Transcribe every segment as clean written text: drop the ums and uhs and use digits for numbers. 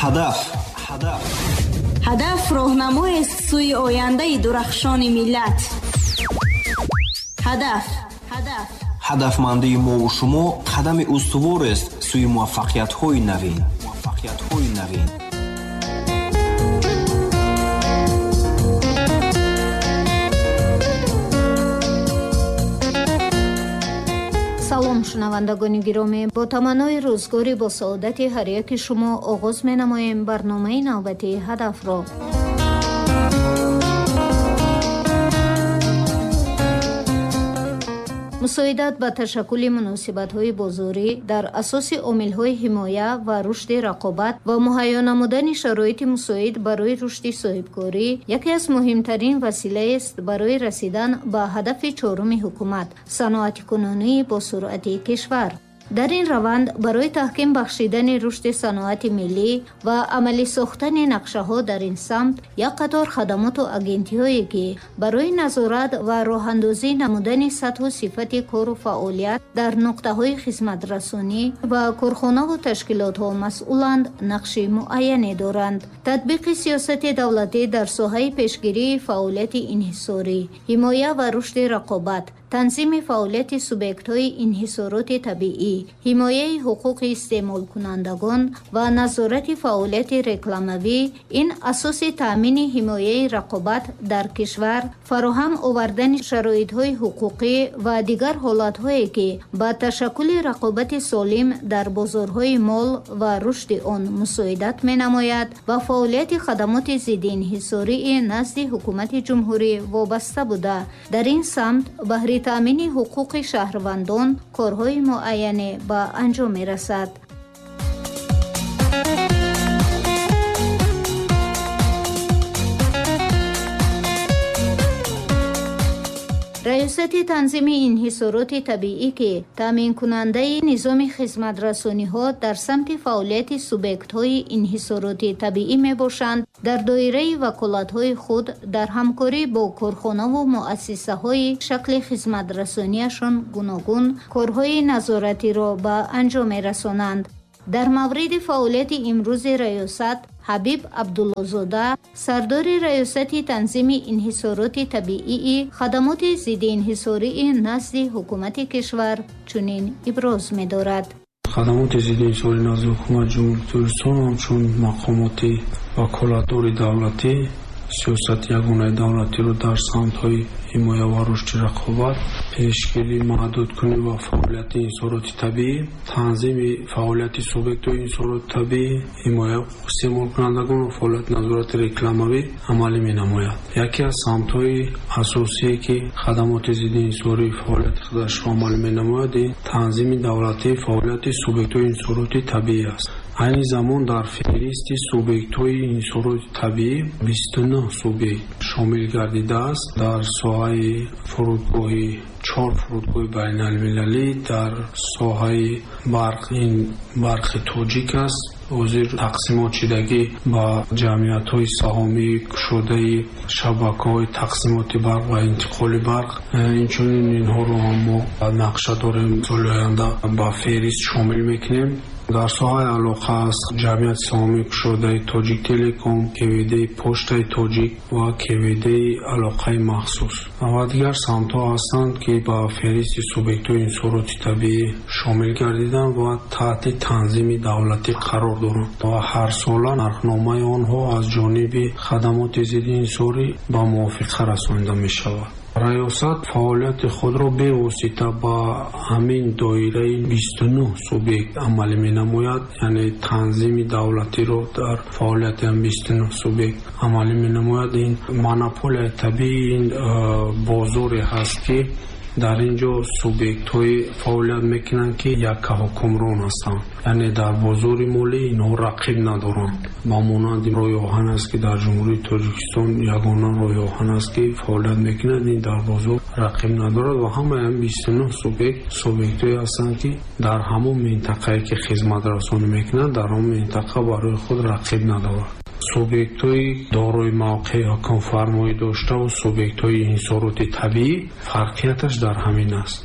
Ҳадаф, ҳадаф, ҳадаф роҳнамоест сӯи ояндаи дурахшони миллат. Ҳадаф, ҳадаф, ҳадафмандии мову шумо қадами устуворест сӯи муваффақиятҳои навин, муваффақиятҳои навин. Салом, шунавандагони гиромӣ, бо таманнои рӯзгори бо саодати ҳар яки шумо оғоз менамоем барномаи навбатии ҳадафро. Мусоидат ба ташаккули муносибатҳои бозорӣ дар асоси омилҳои ҳимоя ва рушди рақобат ва муҳайё намудани шароити мусоид барои рушди соҳибкорӣ яке аз муҳимтарин василаест барои расидан ба ҳадафи чоруми ҳукумат саноатикунонии босуръати кишвар. Дар ин раванд барои таҳким бахшидани рушди саноати миллӣ ва амалӣ сохтани нақшаҳо дар ин самт як қатор хадамоту агентиҳое ки барои назорат ва роҳандозӣ намудани сатҳу сифати кору фаъолият дар нуқтаҳои хизматрасонӣ ва корхонаву ташкилотҳо масъуланд, нақши муайяне доранд. Татбиқи сиёсати давлатӣ дар соҳаи пешгирии фаъолияти инҳисорӣ, ҳимоя ва рушди рақобат, танзими фаъолияти субъектҳои инҳисороти табиӣ, ҳимояи ҳуқуқи истеъмолкунандагон ва назорати фаъолияти рекламавӣ ин асоси таъмини ҳимояи рақобат дар кишвар, фароҳам овардани шароитҳои ҳуқуқӣ ва дигар ҳолатҳое ки ба ташаккули рақобати солим дар бозорҳои мол ва рушди он мусоидат менамояд ва фаъолияти хадамоти зиддиинҳисории назди ҳукумати ҷумҳурӣ вобаста буда, дар ин самт баҳри таъмини ҳуқуқи шаҳрвандон корҳои муайяне ба анҷом мерасад. Раёсати танзими инҳисороти табиӣ ки таъминкунандаи низоми хизматрасониҳо дар самти фаъолияти субъектҳои инҳисороти табиӣ мебошанд, дар доираи ваколатҳои худ дар ҳамкорӣ бо корхонаву муассисаҳои шакли хизматрасонияшон гуногун корҳои назоратиро ба анҷом мерасонанд. Дар мавриди фаъолияти имрӯзи раёсат Ҳабиб Абдуллозода, сардори раёсати танзими инҳисороти табиии хадамоти зиддиинҳисории назди ҳукумати кишвар чунин иброз медорад. Хадамоти зиддиинҳисорӣ назди ҳукумати Ҷумҳурии Тоҷикистон ҳамчун мақомоти ваколатдори давлатӣ сиёсати ягонаи давлатиро дар самтҳои ҳимоя ва рушди рақобат, пешгирӣ, маҳдудкунӣ ва фаъолияти инҳисороти табиӣ, танзими фаъолияти субъектҳои инҳисороти табиӣ, ҳимояи ҳуқуқи истеъмолкунандагон ва фаъолияти назорати рекламавӣ амалӣ менамояд. Яке аз самтҳои асосие ки хадамоти зиддиинҳисорӣ фаъолияти худашро амалӣ менамояд, ин танзими давлатии фаъолияти субъектҳои инҳисороти табиӣ аст. Айни замон дар феҳристи субъектҳои инҳисороти табиӣ 29 субъект шомил гардидааст. Дар соҳаи фурудгоҳи чор фурудгоҳи байналмилалӣ, дар соҳаи барқ ин барқи тоҷик аст. Ҳозир тақсимотшидагӣ ба ҷамъиятҳои саҳомии кушодаи шабакаҳои тақсимоти барқ ва интиқоли барқ, инчунин инҳоро ҳам мо нақша дорем соли оянда ба феҳрист шомил мекунем. Дар соҳаи алоқа аст ҷамъияти саҳомии кушодаи Тоҷик Телеком, КВД-и Поштаи Тоҷик ва КВД-и алоқаи махсус ва дигар самтҳо ҳастанд, ки ба феҳристи субъектҳои инҳисороти табиӣ шомил гардиданд ва таҳти танзими давлатӣ қарор доранд ва ҳарсола нархномаи онҳо аз ҷониби хадамоти зиддиинҳисорӣ ба мувофиқа расонида мешавад. Раёсат фаъолияти худро бевосита ба ҳамин доираи 29 субъект амалӣ менамояд, яъне танзими давлатиро дар фаъолияти 29 субъект амалӣ менамояд. Ин монополияи табиӣ ин бозоре ҳаст, ки дар ин ҷо субъектҳои фаъолият мекунанд, ки яккаҳукмрон ҳастанд, яъне дар бозори молӣ инҳо рақиб надоранд. Ба монанди роҳи оҳан аст, ки дар Ҷумҳурии Тоҷикистон ягона роҳи оҳан аст, ки фаъолият мекунад, ин дар бозор рақиб надорад ва ҳамаи 29 субъект субъектҳое ҳастанд, ки дар ҳамон минтақае ки хизматрасонӣ мекунанд, дар он минтақа барои худ рақиб надорад. Субъектҳои дорои мавқеи ҳукмфармоӣ доштаву субъектҳои инҳисороти табиӣ фарқияташ дар ҳамин аст.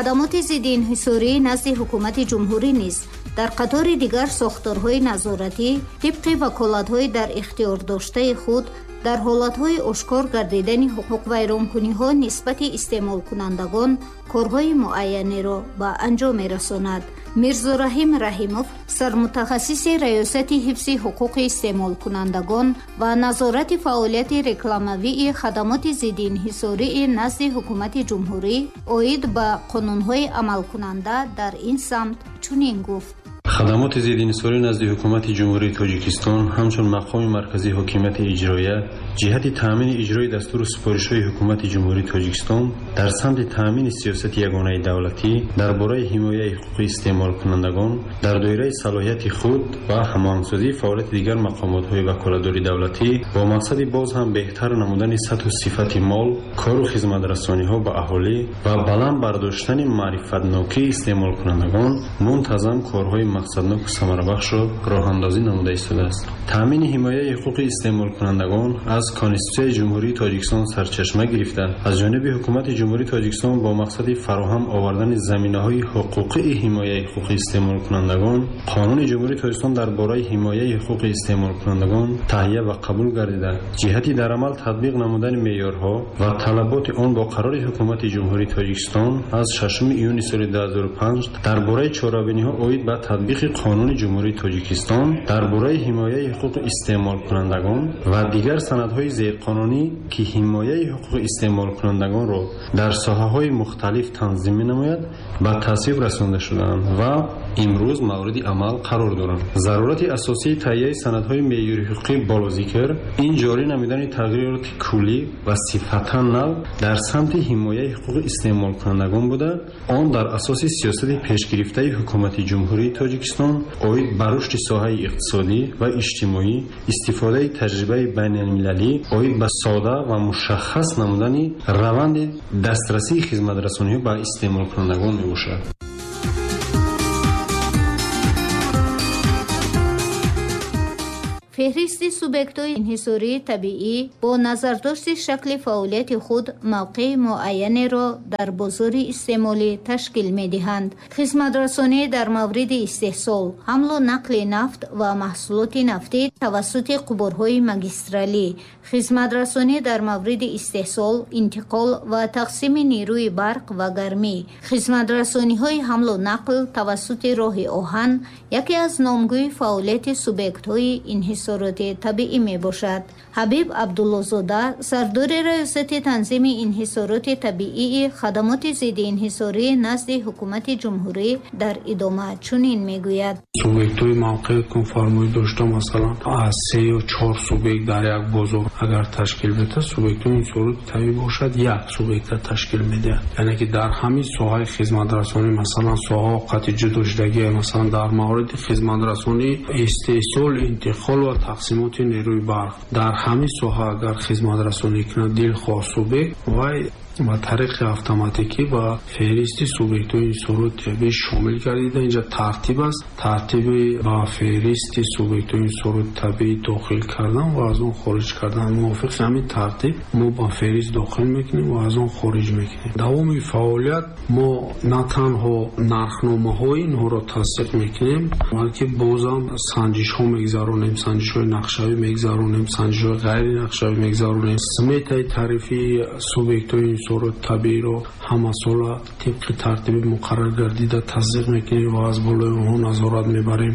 Хадамоти зидди инҳисорӣ назди ҳукумати ҷумҳурӣ низ дар қатори дигар сохторҳои назоратӣ тибқи ваколатҳои дар ихтиёрдоштаи худ дар ҳолатҳои ошкор гардидани ҳуқуқвайронкуниҳо нисбати истеъмолкунандагон корҳои муайянеро ба анҷом мерасонад. Мирзораҳим Раҳимов, сармутахассиси Раёсати ҳифзи ҳуқуқи истеъмолкунандагон ва назорати фаъолияти рекламавии хадамоти зидди инҳисории назди ҳукумати ҷумҳурӣ оид ба қонунҳои амалкунанда дар ин самт чунин гуфт. Хадамоти зидди инҳисорӣ назди ҳукумати Ҷумҳурии Тоҷикистон ҳамчун мақоми марказии ҳокимияти иҷроия ҷиҳати таъмини иҷрои дастуру супоришҳои ҳукумати Ҷумҳурии Тоҷикистон дар самти таъмини сиёсати ягонаи давлатӣ дар бораи ҳимояи ҳуқуқи истеъмолкунандагон дар доираи салоҳияти худ ва ҳамоҳангсозии фаъолияти дигар мақомотҳои ваколатдори давлатӣ бо мақсади боз ҳам беҳтар намудани сатҳу сифати мол, кору хизматрасониҳо ба аҳолӣ ва баланд бардоштани маърифатнокии истеъмолкунандагон мунтазам корҳои мақсадноку самарабахшро роҳандозӣ намуда истодааст. Таъмини ҳимояи ҳуқуқи истеъмолкунандагон аз Конститутсияи Ҷумҳурии Тоҷикистон сарчашма гирифта, аз ҷониби ҳукумати Ҷумҳурии Тоҷикистон бо мақсади фароҳам овардани заминаҳои ҳуқуқии ҳимояи ҳуқуқи истеъмолкунандагон Қонуни Ҷумҳурии Тоҷикистон дар бораи ҳимояи ҳуқуқи истеъмолкунандагон таҳия ва қабул гардида, ҷиҳати дар амал татбиқ намудани меъёрҳо ва талаботи он бо қарори Ҳукумати Ҷумҳурии Тоҷикистон аз 6 июни соли 2005 дар бораи чорабиниҳо оид ба татбиқи Қонуни Ҷумҳурии Тоҷикистон дар бораи ҳимояи ҳуқуқи истеъмолкунандагон ва дигар санадҳои зерқонунӣ, ки ҳимояи ҳуқуқи истеъмолкунандагонро дар соҳаҳои мухталиф танзим менамояд, ба тасвиб расонда шудаанд ва имрӯз мавриди амал қарор доранд. Зарурати асосии таҳияи санадҳои меъёри ҳуқуқӣ болозикр ин ҷорӣ намудани тағйироти куллӣ ва сифатан нав дар самти ҳимояи ҳуқуқи истеъмолкунандагон буда, он дар асоси сиёсати пешгирифтаи ҳукумати Ҷумҳурии Тоҷикистон оид ба рушди соҳаи иқтисодӣ ва иҷтимоӣ, истифодаи таҷрибаи байналмилалӣ оид ба сода ва мушаххас намудани раванди дастрасии хизматрасониҳо ба истеъмолкунандагон мебошад. Феҳристи субъектҳои инҳисории табиӣ бо назардошти шакли фаъолияти худ мавқеи муайянеро дар бозори истеъмолӣ ташкил медиҳанд. Хизматрасонӣ дар мавриди истеҳсол, ҳамлу нақли нафт ва маҳсулоти нафтӣ тавассути қубурҳои магистралӣ, хизматрасонӣ дар мавриди истеҳсол, интиқол ва тақсими нерӯи барқ ва гармӣ, хизматрасониҳои ҳамлу нақл тавассути роҳи оҳан яке аз номгӯи фаъолияти субъектҳои инҳисороти табиӣ мебошад. Ҳабиб Абдуллозода, сардори Раёсати танзими инҳисороти табиии хадамоти зидди инҳисорӣ назди ҳукумати ҷумҳурӣ дар идома чунин мегӯяд. Субъектҳои мавқеи ҳукмфармоӣ дошта, масалан, аз 3 ё 4 субъект дар як бозор агар ташкил медиҳад, субъектҳои инҳисороти табиӣ бошад, як субъекта ташкил медиҳад. Яъне ки дар ҳамин соҳаи хизматрасонӣ, масалан, соҳаҳо қатъи ҷудошудагӣ, масалан, дар мавриди хизматрасонӣ, истеҳсол, интиқол ва тақсимоти нерӯи барқ, дар ҳамин соҳа агар хизматрасонӣ кунад дилхоҳ субъект, вай ба тариқи автоматикӣ ба феҳристи субъектҳои инҳисороти табиӣ шомил гардида. Инҷа тартиб аст, тартиби ба феҳристи субъектҳои инҳисороти табиӣ дохил кардан ва аз он хориҷ кардан. Мувофиқи ҳамин тартиб мо ба феҳрист дохил мекунем ва аз он хориҷ мекунем. Давоми фаъолият мо на танҳо нархномаҳои инҳоро тасдиқ мекунем, балки бозам санҷишҳо мегзаронем, санҷишҳои нақшавӣ мегзаронем, санҷишҳои ғайринақшавӣ мегзаронем. Сметаи тарифии субъектҳои инҳисороти табииро ҳамасола тибқи тартиби муқаррар гардида тасдиқ мекунем ва аз болои онҳо назорат мебарем.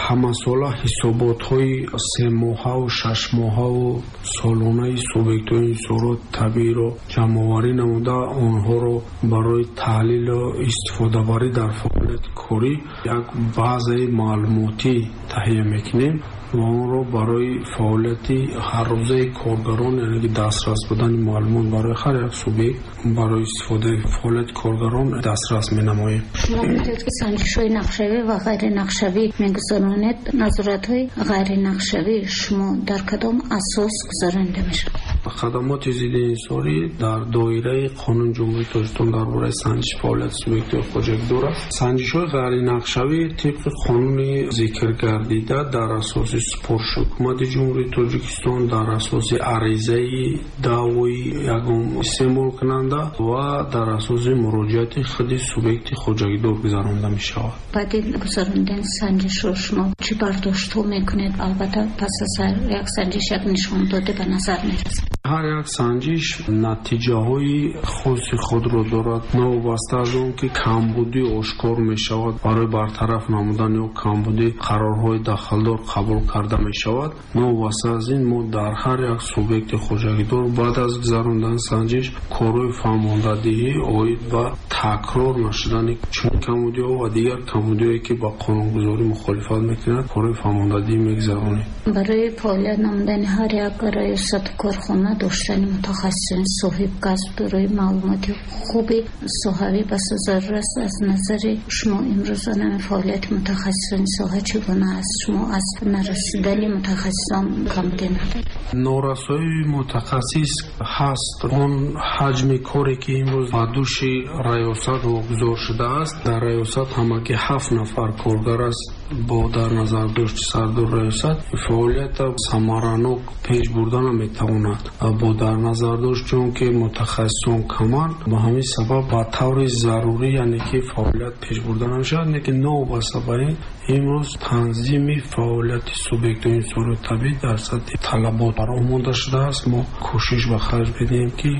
Ҳамасола ҳисоботҳои семоҳаву шашмоҳаву солонаи субъектҳои инҳисороти табииро ҷамъоварӣ намуда, онҳоро барои таҳлилу истифодабарӣ дар фаъолияти корӣ як базаи маълумотӣ таҳия мекунем ва онро барои фаъолияти ҳаррӯзаи коргарон, яъне ки дастрас будани маълумот барои ҳар як субъект барои истифодаи фаъолияти коргарон дастрас менамоем. Шумо гуфтед, ки санҷишҳои нақшавӣ ва ғайринақшавӣ мегузаронед. Назоратҳои ғайринақшавӣ шумо дар кадом асос гузаронида мешавад? Хадамоти зидди инҳисорӣ дар доираи Қонуни Ҷумҳурии Тоҷикистон дар бораи санҷиши фаъолияти субъектҳои хоҷагидор аст. Санҷишҳои ғайринақшавӣ тибқи қонуни зикргардида дар асоси супориши Ҳукумати Ҷумҳурии Тоҷикистон, дар асоси аризаи даъвои ягон истеъмолкунанда ва дар асоси муроҷиати худи субъекти хоҷагидор гузаронда мешавад. Баъди гузарондани санҷишро шумо чӣ бардоштҳо мекунед? Албатта, пас аз ҳар як санҷиш як нишондоде ба назар мерасад. Ҳар як санҷиш натиҷаҳои хоси худро дорад. Новобаста аз он ки камбудӣ ошкор мешавад, барои бартараф намудан ё камбудӣ қарорҳои дахлдор қабул карда мешавад. Новобаста аз ин, мо дар ҳар як субъекти хоҷагидор баъд аз гузарондани санҷиш корҳои фаҳмондадиҳӣ оид ба такрор нашудани чунин камбудиҳо ва дигар камбудиҳое ки ба қонунгузорӣ мухолифат мекунад, корҳои фаҳмондадиҳӣ мегузаронем. Барои фаъолият намудани ҳар як раёсату корхона доштани мутахассисони соҳибкасб дорои маълумоти хуби соҳавӣ басо зарур аст. Аз назари шумо имрӯз анами фаъолияти мутахассисони соҳа чӣ гуна аст? Шумо аз нарасидани мутахассисон камбудӣ надоред? Норасоии мутахассис ҳаст. Он ҳаҷми коре ки имрӯз ба дӯши раёсат вогузор шудааст, дар раёсат ҳамагӣ 7 нафар коргар аст. Бо дар назардошти сардори раёсат фаъолията самаранок пеш бурда наметавонад. Бо дар назардошти он ки мутахассисон каманд, ба ҳамин сабаб ба таври зарурӣ, яъне ки фаъолият пеш бурда намешавад. Лекин новобаста ба ин, имрӯз танзими фаъолияти субъектҳои инсонии табиӣ дар сатҳи талабот бароҳ монда шудааст. Мо кӯшиш ба харҷ медиҳем ки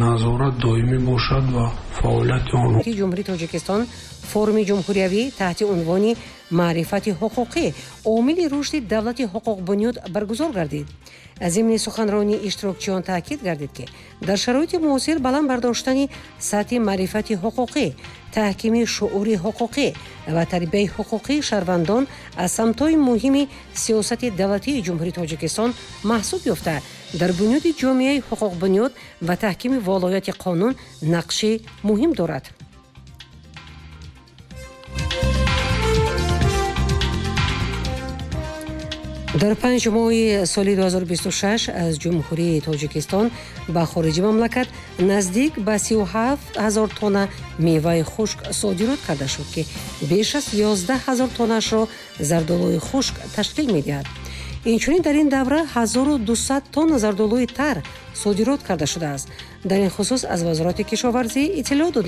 назорат доимӣ бошад ва фаъолияти онҳо. Ҷумҳурии Тоҷикистон форуми ҷумҳуриявӣ таҳти унвони маърифати ҳуқуқӣ омили рушди давлати ҳуқуқбунёд баргузор гардид. Зимни суханронии иштирокчиён таъкид гардид, ки дар шароити муосир баланд бардоштани сатҳи маърифати ҳуқуқӣ, таҳкими шуури ҳуқуқӣ ва тарбияи ҳуқуқии шаҳрвандон аз самтҳои муҳими сиёсати давлатии Ҷумҳурии Тоҷикистон маҳсуб ёфта, дар бунёди ҷомеаи ҳуқуқбунёд ва таҳкими волояти қонун нақши муҳим дорад. Дар 5 моҳи соли 2026 аз Ҷумҳурии Тоҷикистон ба хориҷи мамлакат наздик ба 37 ҳазор тонна меваи хушк содирот карда шуд, ки беш аз 11 ҳазор тоннаашро зардолуи хушк ташкил медиҳад. Инчунин дар ин давра 1200 тонна зардолуи тар содирот карда шудааст. Дар ин хусус аз Вазорати кишоварзӣ иттилоъ дод.